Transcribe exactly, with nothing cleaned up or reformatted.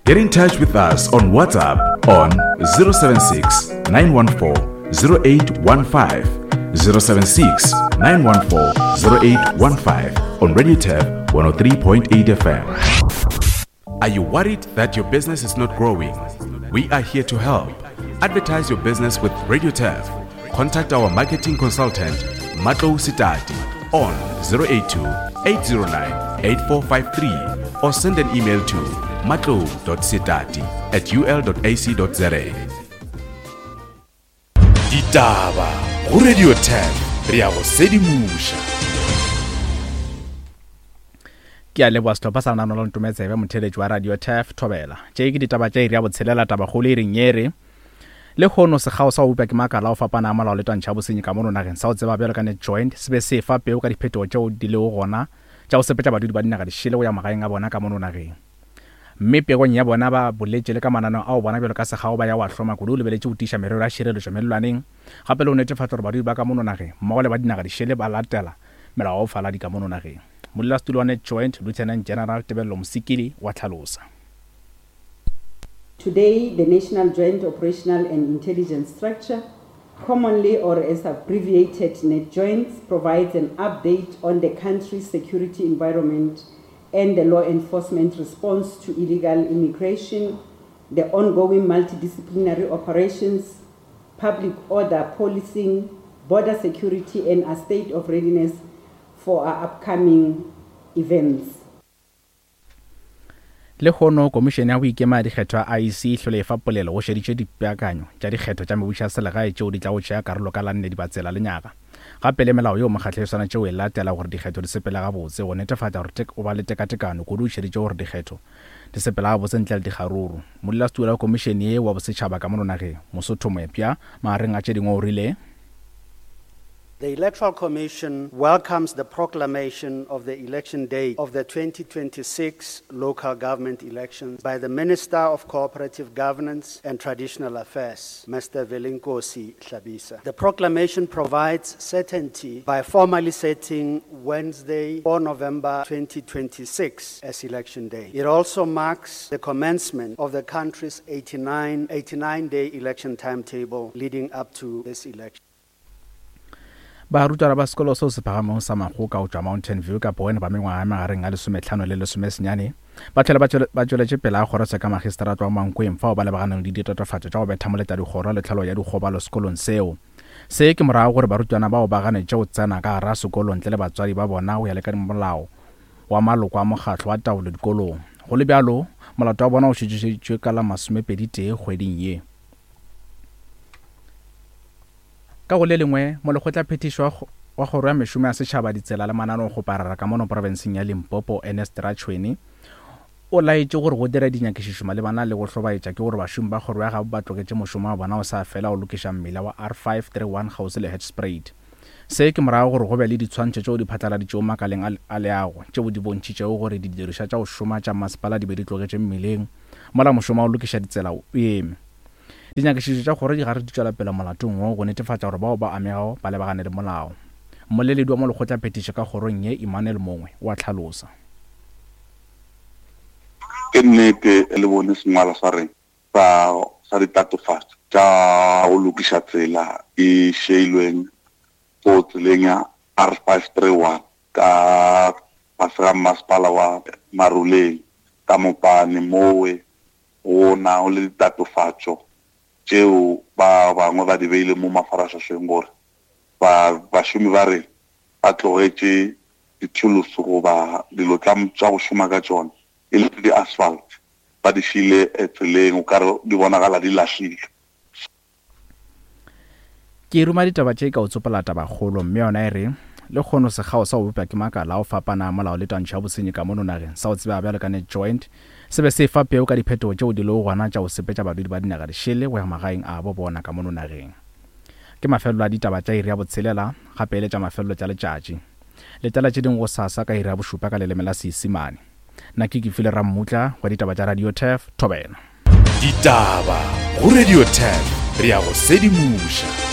Get in touch with us on WhatsApp on zero seven six, nine one four, zero eight one five, zero seven six, nine one four, zero eight one five on Radio Turf one oh three point eight F M. Are you worried that your business is not growing? We are here to help. Advertise your business with Radio Turf. Contact our marketing consultant, Matlou Sitati, on zero eight two, eight zero nine, eight four five three or send an email to matlou dot sitati at u l dot a c dot z a. Ditaba go Radio Turf, re ya go sedimoša. Ke a leboha sehlopha sa lenaneo la Ntometsebe, motheeletši wa Radio Turf Thobela. Tše ke ditaba tša iri ya botshelela, tabakgolo e reng ye re lehono sekgao sa go bopša ke makala a go fapana a molao le twantšha ya bosenyi ka mono nageng sa go tseba bjalo ka NatJoint se be se fa peo ka diphetogo tšeo di lego gona tša go sepetša badudi ba dinaga dišele go ya magaeng a bona ka mono nageng. Mme pegong ya bona ba boletše le ka mananeo ao bona bjalo ka sekgao ba ya go a hloma kudu o lebeletše go tiiša merero ya tšhireletšo mellwaneng, gape le go netefatša gore badudi ba ka mono nageng mmogo le ba dinaga dišele ba latela melao ya bofaladi ka mono nageng. Modulasetulo wa NatJoint, Lieutenant General Tebello Mosikili wa tlhalosa. Today, the National Joint Operational and Intelligence Structure, commonly or as abbreviated NatJoints, provides an update on the country's security environment and the law enforcement response to illegal immigration, the ongoing multidisciplinary operations, public order policing, border security, and a state of readiness for our upcoming events. Lehono Komišene ya go ikema ya dikgetho ya I E C e hlole e fa polelo go šeditše dipeakanyo tša dikgetho tša mebušo ya selegae tšeo di tla go tšea karolo ka la nne Dibatsela lenyaga. Gape le melao yeo mokgatlo e swanetše go e latela gore dikgetho di sepele gabotse, go netefatša gore tek-, o ba le tekatekano kudu o šeditše gore dikgetho di sepela gabotse ntle le dikgaruru. Modulasetulo wa komišene ye wa bosetšhaba ka mono nageng, Mosotho Moepša, magareng a tše dingwe o rile The Electoral Commission welcomes the proclamation of the election date of the twenty twenty-six local government elections by the Minister of Cooperative Governance and Traditional Affairs, Mister Velenkosini Hlabisa. The proclamation provides certainty by formally setting Wednesday, four November twenty twenty-six as election day. It also marks the commencement of the country's eighty-nine, eighty-nine-day election timetable leading up to this election. Barutwana ba sekolo seo se phagamego sa Makgoka go tšwa Mountain View ka Bowen ba mengwaga ya magareng a lesometlhano le lesomesenyane ba tlhole ba tšwele-, ba tšweletše pele a kgoro ka magistrata wa Mankweng fao ba lebaganeng le ditatofatšo tša go betha moleta dikgoro le tlhalo ya dikgobalo sekolong seo. Se ke morago gore barutwana bao ba ganetše go tsena ka gare ga sekolo ntle le batswadi ba bona go ya le ka molao wa maloko a mokgatlo wa taolo dikolong. Go le bjalo, molato wa bona o šetšetšwe ka la masomepedi tee kgweding ye. Ka go le lengwe, molekgotlaphethiši wa kgo-, wa kgoro ya mešomo ya setšhaba, ditsela le mananeo go parara ka mono profenseng ya Limpopo, Ernest Rachoene, o laetše gore go dira dinyakišišo malebana le go hlobaetša ke gore bašomi ba kgoro ya gabo ba tlogetše mošomo wa bona o sa fela go lokiša mmila wa R five three one kgauswi le Hoedspruit. Se ke morago gore go be le ditshwantšho tšeo di phatlaladitšego makaleng a le-, a leago tšeo di bontšhitšego gore didirišwa tša go šoma tša masepala di be di tlogetše mmileng mola mošomo wa go lokiša ditsela o eme. Dinyakišišo tša kgoro di gare di tšwela pele molatong wo go netefatša gore bao ba amegago ba lebagane le molao. Mmoleledi wa molekgotlaphethiši ka kgorong ye, Emmanuel Mongwe, o a tlhalosa. Ke nnete le bone sengwalo sa rena sa, sa ditatofatšo tša go lokiša tsela e šeilweng go tseleng ya R five three one ka fase ga masepala wa Maruleng ka Mopane, mowe go na le ditatofatšo tšeo ba bangwe ba di beile mo mafaratlhahleng gore ba, bašomi ba rena ba tlogetše dithulusu goba dilo tša, tša go šoma ka tšona e le di-asphalt, ba di šile tseleng, o kare di bonagala di lahlile. Ke ruma ditaba tše ka o tsopola tabakgolo, mme yona e re lehono sekgao sa go bopša ke makala a go fapana a molao le twantšho ya bosenyi ka mono nageng sa go tsebega bjalo ka NatJoint se be se fa peo ka diphetogo tšeo di lego gona tša go sepetša badudi ba dinaga dišele go ya magaeng a bo bona ka mono nageng. Ke mafelelo a ditaba tša iri ya botshelela, gape e le tša mafelelo tša letšatši. Letela tše dingwe gosasa ka iri ya bošupa ka leleme la Seisemane. Nna ke Kefile Rammutla wa ditaba tša Radio Turf, Thobela. Ditaba go Radio Turf, re ya go sedimoša.